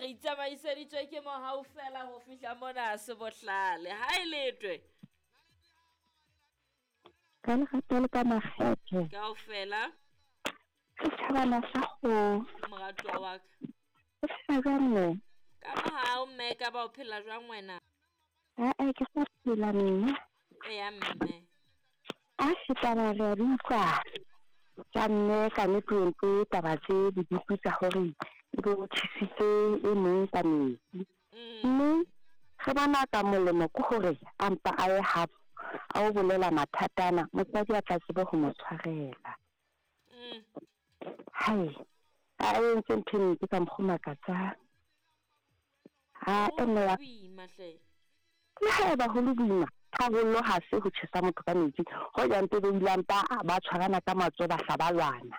Re itsamaiseditswe ke mohau fela ho fihla mona se bohlale. Ha e letwe. Ka lerato le ka makgethe. Kaofela. Setjhabana sa kgomo. Moratuwa wa ka. O phela jwang mme? Ka mohau mme ka ba o phela jwang wena? Aa ke sa phela mme. Eya mme. A se taba re a di utlwa tsa mme ka nnete o entse taba tse bodutu tsa hore ebe o tjhesitse e mong ka metsi. Mme re bona ka molemo ke hore a mpa a ye habo a o bolela mathata ana motswadi a tla tsebe ho mo tshwarela. Hai, a entse ntho e mpe ka mokgwa o makatsang. Ha e mme wa Boima hle. Le haeba ho le boima, tharollo ha se ho tjhesa motho ka metsi. Hoja mpe ba ile a mpa ba tshwarana ka matsoho ba hla ba lwana.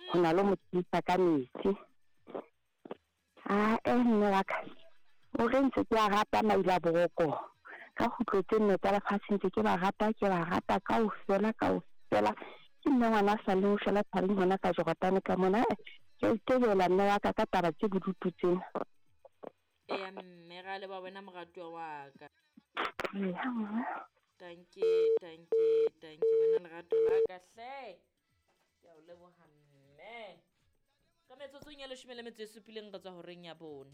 Ho na le ho mo tjhesa ka metsi. Ae mme wa ka, o re ntse ke a rata Maila-boroko. Ka kgutlo tse nne tsa lefatshe ntse ke ba rata, ke ba rata kaofela, kaofela. Ke nna ngwana a sa leng ho shwela thabeng hona ka Jordan ka mona. Ae, ke a itebela mme wa ka ka taba tse bodutu tsena. Eya mme, ra leboha wena moratuwa wa ka. Eya mme. Dankie, dankie, dankie wena lerato la ka hle. Ke a o leboha mme. Ka metsotsong ya 17 re tswa horeng ya 4.